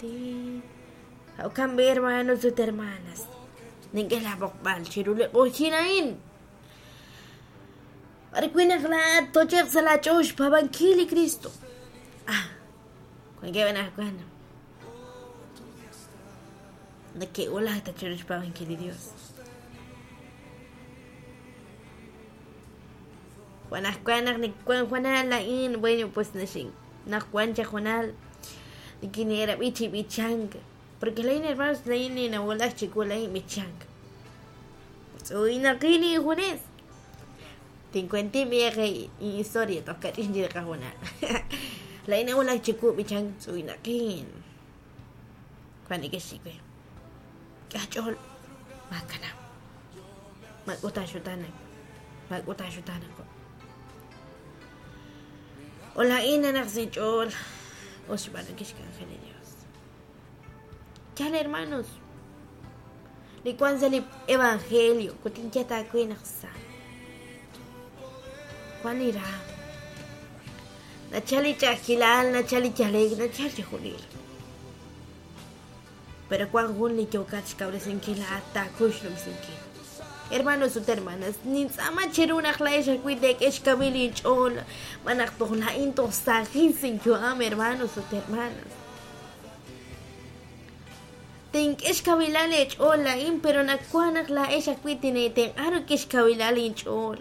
ti. Jo'kan b'i' hermanos ut hermanas, nink'e laab'oqb'al chiru li q'oqyink a'in. B'ar wi' naq laa'at toch'e'q sa' laach'ool xpaab'ankil li Kristo. Ah, wankeb' anaqwan neke'wulak ta chiru xpaab'ankil li Dios. Anaqwan naq niwank juanal laa'in, bueno, pues naxin naq wan chaq juanal nikine'rab'i chi b'ichank, porque laa'in hermanos laa'in ninawulak chiwu laa'in b'ichank. Tz'uynaqin injunes. Tinkuenti b'ieq historia toj kach'in chi qajunal. Laa'in nawulak chiwu b'ichank tz'uynaqin. Wan neke'xye we, K'ach'ool, maakanab'. Maak'ut aaxutaanak. Maak'ut aaxutaanak. O laa'in nanaq sa' inch'ool us xb'aanunkil xk'anjel li Dios. Yaal, hermanos, li wank sa' li evangelio, ut tinye aawe naq sa. Wan li raam. Nachal li ch'a'ajkilal, nachal li yale'k, nachal chixjunil. Pero wan jun li yookat xkawresinkil laa'at taakuy xnumsinkil. Hermanos ut hermanas, nintz'aama cheru naq laa'ex ajwi' teek'e xkawil inch'ool, xb'aan naq toj laa'in toj saajin sa' inyu'am, hermanos ut hermanas. Tink'e xkawilal eech'ool laa'in, pero nawaj naq laa'ex ajwi' tineetenq'a rik'in xkawilal inch'ool.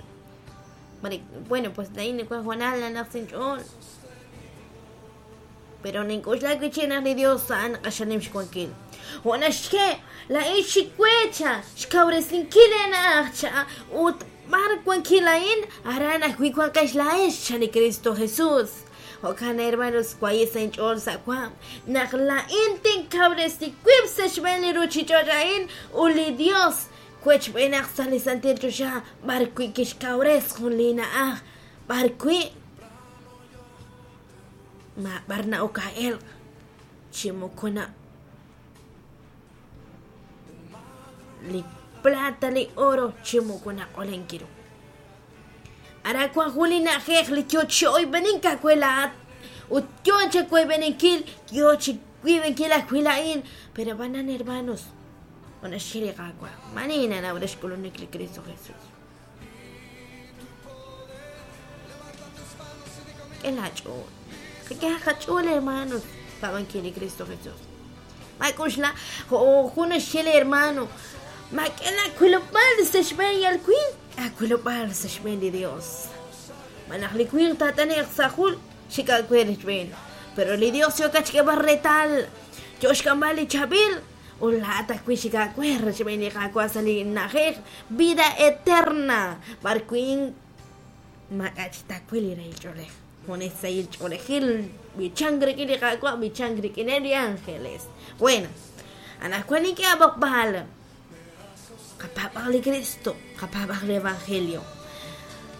Bueno, pues laa'in wan hoonal nanaq sa' inch'ool. Pero nink'oxla wi' chik naq li Dios a'an q'axal nim xwankil. Jo' naxye, laa'in xikwe cha xkawresinkil eena'aj cha ut b'ar wankil a'in, aran ajwi' wanqex laa'ex, chan li Kristo Jesus. Jo'kan, hermanos, waye' sa' inch'ool sa' waam naq laa'in tinkawresi wib' sa' xb'een li ruchich'och' a'in ut li Dios wechb'eenaq sa' li santil choxa b'ar wi' kixkawres jun li na'aj b'ar wi' maab'ar na'ok aa'elq chi moko na li plata li oro chi moko naq'olenk ru. Aran wank jun li na'ajej li yo chi oyb'enink aawe laa'at ut yo chawoyb'eninkil, yo chi wiib'enkil ajwi' laa'in. Pero ab'anan hermanos, jo' naxye li Qaawa', maani nanaw re xk'ulunik li Kristo Jesus. K'e laach'ool. Qak'ehaq qach'ool, hermanos, xpaab'ankil li Kristo Jesus. Maak'oxla, jo' jun naxye li hermano, maak'e laawilob'aal sa' xb'een yal winq, aawilob'aal sa' xb'een li Dios. Xb'aan naq li winq taat'ane'q sa' jul, xik aawe rechb'een. Pero li Dios yookat xk'eeb'al reetal, yoo xk'amb'al li chaab'il, Ut laa'at ajwi' xik aawe rochb'een li Qaawa' sa' li na'ajej Vida Eterna, b'ar wi' maak'a' chik taawil li rahil ch'oolej. Junes sahil ch'oolejil, b'ichank rik'in li Qaawa', b'ichank rik'ineb' li ángeles. Bueno, anaqwan nink'e aab'oqb'al. Qapaab'aq li Kristo, qapaab'aq li Evangelio.